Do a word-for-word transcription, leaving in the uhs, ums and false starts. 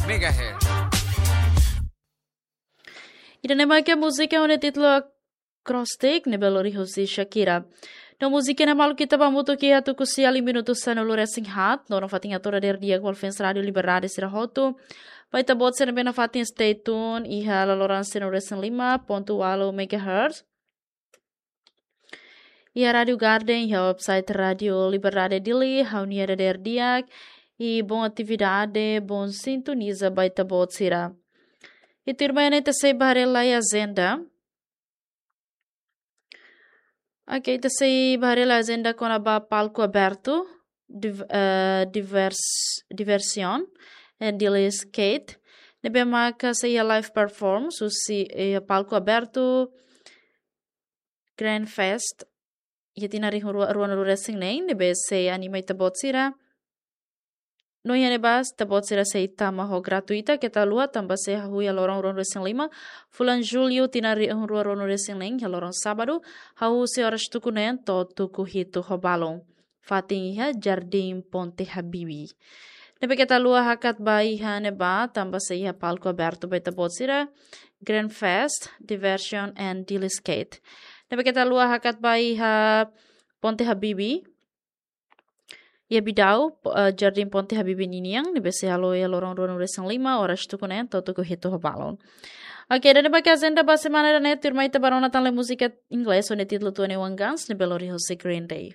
megahertz. Ida-ne'e mak múzika ho nia títulu Acrostic, ne'ebé lori husi Shakira. No múzika ne'e maluk ita ba hamutuk iha tuku sia liu minutu sanulu-resin-haat, no nafatin hato'o dadeer di'ak ba fans Rádiu Liberdade sira hotu. Ba ita-boot sira ne'ebé nafatin stay tune iha laloran sanulu-resin-lima pontu ualu megahertz. Iha Rádiu Garden, iha website Rádiu Liberdade Dili, ha'u-nia dadeer di'ak, i bom atividade, bom sintoniza ba ita-boot sira. I tuirmai ne'e ita sei bá haree lai ajenda. Ok, ita sei bá haree lai ajenda kona-ba palku abertu, div-, eh, divers-, Diversion, eh, Dili Skate. Ne'ebé maka sei iha live performance, husi, eh, palku abertu, Grand Fest, iha tinan rihun rua, ruanulu-resin-neen, ne'ebé sei anima ita-boot sira. No iha ne'ebá, ita-boot sira sei tama ho gratuita, keta haluha, tanba sei hahú iha loron ruanulu-resin-lima, fulan Jullu, tinan rihun rua ruanulu-resin-neen, iha loron sábadu, hahú husi oras tuku neen to'o tuku hitu ho balun. Fatin iha Jardim Ponte Habibi. Ne'ebé keta haluha hakat ba iha ne'ebá, tanba sei iha palku abertu ba ita-boot sira, Grand Fest, Diversion and Dili Skate. Ne'ebé keta haluha hakat ba iha Ponte Habibi, iha Bidau, po-, eh, Jardim Ponte Habibi ninian, ne'ebé sei halo iha loron ruanulu-resin-lima, oras tuku neen to'o tuku hitu ho balun. Ok, ida-ne'e mak ajenda ba semana ida-ne'e, tuirmai ita bá rona tan lai múzika Inglés, ho nia títulu Twenty-One Guns, ne'ebé lori husi Green Day.